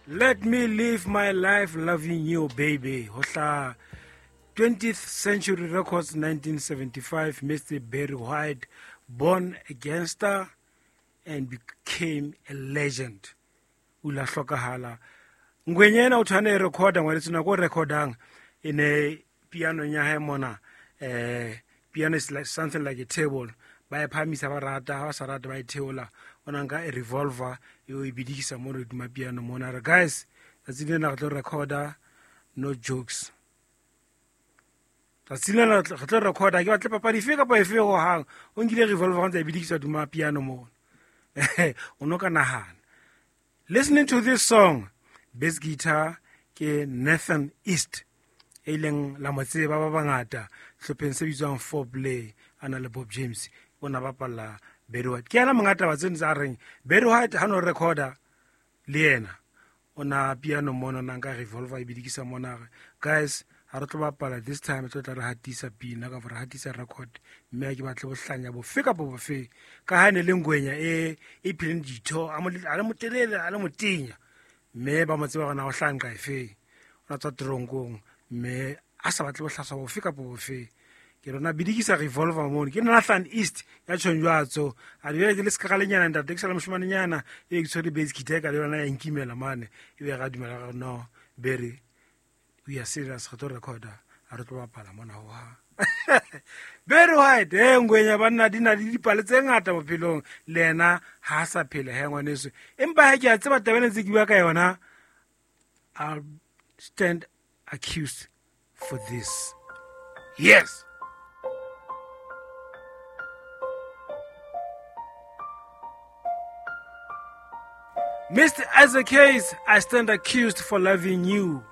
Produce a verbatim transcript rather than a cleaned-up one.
Let me live my life loving you, baby. Ho hla twentieth Century Records, nineteen seventy-five, Mister Barry White, born a gangster and became a legend. O la hlokahala. Ngwenya ena o tshwane e recorda, ngwaneso, nako o recordang, e ne piano ya hae mona, eh, piano is like something like a table. Ba e phahamisa ba rata, ha ba sa rata ba e theola. O na nka e revolver, e o e bidikisa mono hodima piano mona. A re, guys, tsatsi lena re tlo recorda, no jokes. Tsatsi lena re tlo recorda, ke batle papadi efe kapa efe hohang. O nkile revolver ntse a e bidikisa hodima piano mona. O no ka nahana. Listening to this song, bass guitar ke Nathan East, e leng la mo tseba ba bangata hlopheng se bitswang Four Play, a na le Bob James, o na bapalla Barry White. Ke yena monga taba tseno tsa reng Barry White ha no recorda le yena, o na piano mona, o na nka revolver e bidikisa mona, a re, guys, ha re tlo bapala this time, re tlo tla re hatisa pina kapa re hatisa record, mme ha ke batle bohlanya bofe kapa bofe. Ka ha e ne le ngwenya e, e phileng ditho, a mo, a le motelele, a le motenya, mme ba mo tseba hore na o hlaha nqa efe. O na tswa teronkong, mme a sa batle bohlaswa bofe kapa bofe. Ke rona bidikisa revolver mono. Ke Nathan East ya tjhong jwatso. A di jwale ke le sekralenyana ntate, ke sa le moshimanenyana, e ke tshwere bass guitar ka le yona ya nkimela mane. E be ra dumela re no, Barry, we are serious, re tlo recorda, ha re tlo bapala mona ho ha. Barry White, eh, ngwenya banna di na le dipale tse ngata bophelong, le yena ha a sa phela he ngwaneso. Empa ha ke a tseba taba ena ntse ke bua ka yona, I'll stand accused for this. Yes. Mister Isaac Hayes, I stand accused for loving you.